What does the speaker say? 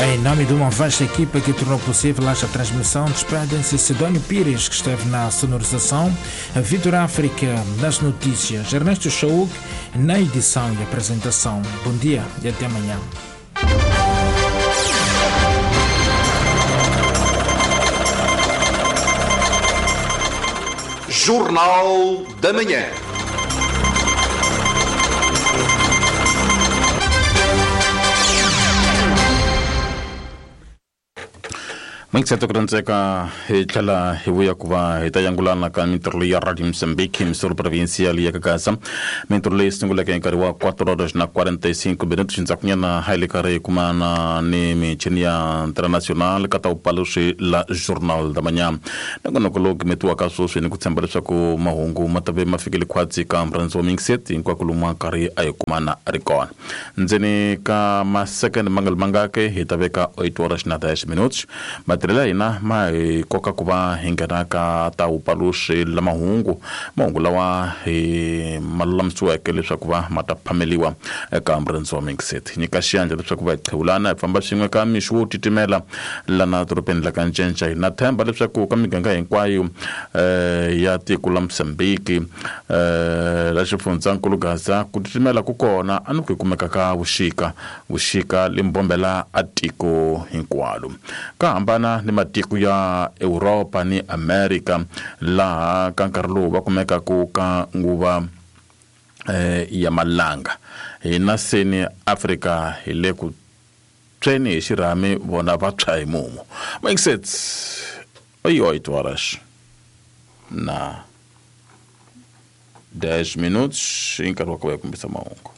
Em nome de uma vasta equipa que tornou possível esta transmissão, despedem-se Sidónio Pires, que esteve na sonorização, Vitor África nas notícias, Ernesto Chauk na edição e apresentação. Bom dia e até amanhã. Jornal da Manhã. Mingisete ku rhandzeka hi tlhela hi vuya ku va hi ta yangulana ka mintirho leyi ya Radio Mozambique misolo provincial ya Kagaza. Mintirho leyi sunguleke hi nkarhi wa 4 horas na 45 minutos ndzhakunyana hi le karhi hi kumana ni michini ya international ka ta vupaluxi la Journal da Manhã. Nongonoko lowu gimetiwaka sweswi ni ku tshemba leswaku mahungu ma ta ve ma fikile khwatsi ka murhandzi wa mingiseti hinkwako lomu a karhi a hi kumana a ri kona. Ndzeni ka masekende ma nga ri mangaki hi ta veka 8 horas na 10 minutos. Matirhelo ya hina ma hi koka ku va hi nghena ka ta vupaluxi la mahungu, mahungu lawa hi ma lulamisiweke leswaku va ma ta phameliwa eka murhandzi wa mingiseti. Nyika xiyandla leswaku va hi qhewulana hi famba swin'we ka mixo wo titimela lana dorobeni la ka Ncenca. Hi na themba leswaku ka miganga hinkwayo ya tiko la Mozambique la xifundzankulu Gaza ku titimela ku kona a ni ku hi kumeka ka vuxika, vuxika limbombela a tiko hinkwalo. Ka hambana ni matiko ya Europa ni Amerika laha ka nkarhi lowu va kumekaku ka nguva ya malanga. Hina seni Afrika hi le ku tshweni hi xirhami vona va tshwa hi mumu. Mingisets 8 horas na 10 minutos hi nkarhi wa ku va hi kombisa mahungu.